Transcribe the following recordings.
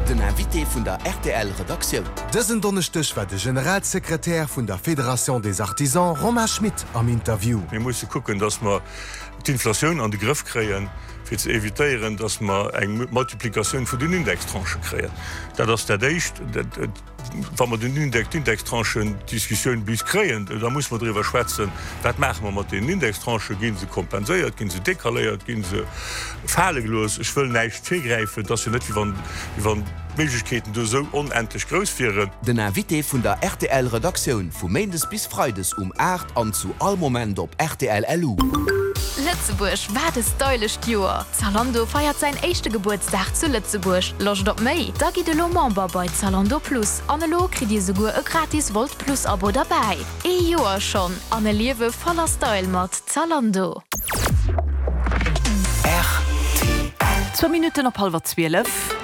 Den Invité vun der rtl Redaktioun. Dësen Donneschdeg war de Generalsekretär vun der Fédération des Artisans Romain Schmit am Interview. Mir musse kucken, datt mer d'Inflatioun an de Grëff kréien, fir ze evitéieren, datt mer eng Multiplikatioun vun den Indextranchë kréien. Dat ass dat Éischt. Wa mer den Index, d'Indextranchen-Diskussioun bis kréien, da musse mer driwwer schwätzen, Wat maache mer mat deenen Indextranchen? Gi se kompenséiert? Gi se decaléiert? Gi se fale gelooss? Ech wëll näischt virgräifen. Et ass jo net, wéi wann, wéi wann d'Méiglechkeeten do esou onendlech grouss wieren. Den Invité vun der rtl Redaktioun vu Méindes bis Freides um 8 an zu all Moment op rtl LU. Lëtzebuerg, wat e stylescht Joer! Zalando feiert säin éischte Gebuertsdag zu Lëtzebuerg. Loscht op méi? Da gitt elo Member bei Zalando Plus an elo kritt dir souguer e gratis Wolt Plus Abo derbäi. Ee Joer schonn an e Liewe voller Style mat Zalando. Rtl. Zwou Minutten op hallwer 12.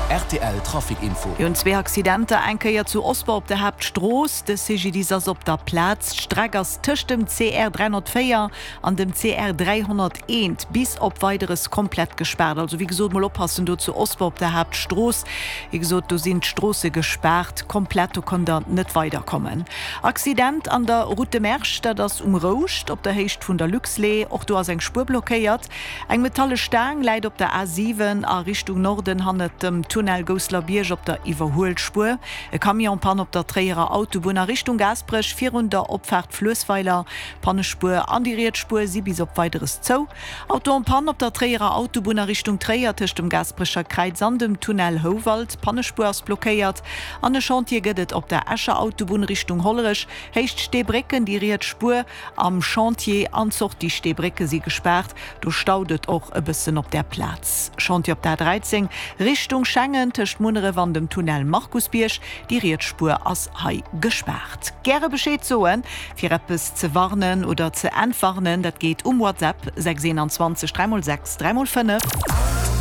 Rtl Trafic Info. Mir hunn zwee Accidenter, eng Kéier zu Osper op der Haaptstrooss. De CGDIS ass op der Plaz. D'Streck ass tëscht dem CR 304 an dem CR 301 bis op Weideres komplett gespaart. Also wéi gesot, mol oppassen do zu Osper op der Haaptstrooss. Wéi gesot, do sinn d'Stroosse gespaart komplett, do konnt der net weiderkommen. Accident an der Route de Mersch, dat ass um Rouscht op der Héicht vun der Luxlait. Och do ass eng Spuer blockéiert. Eng metalle Staang läit op der A 7 a Richtung Norden hannert dem Tunnel Gousselerbierg op der Iwwerhuelspuer. E Camion Panne op der Tréierer Autobunn a Richtung Gaasperech virun der Opfaart Fluessweiler. D'Pannespuer an déi riets Spuer si bis op Weideres zou. Auto en panne op der Tréierer Autobunn a Richtung Tréier tëscht dem Gaasperecher Kräiz an dem Tunnel Houwald. D'Pannespuer ass blockéiert an e Chantier gëtt et op der Escher Autobunn Richtung Hollerech, Héicht Steebrécken. Déi riets Spuer am Chantier an d'Sortie Steebrécke si gespaart. Do staut et och e bëssen op där Plaz. Chantier op der A13 Richtung Schengen tëscht Munneref an dem Tunnel Markusbierg. Déi riets Spuer ass hei gespaart. Gäre Bescheed soen, fir eppes ze warnen oder ze entwarnen. Dat geet um WhatsApp 6 21 3 x 6 3 x 5.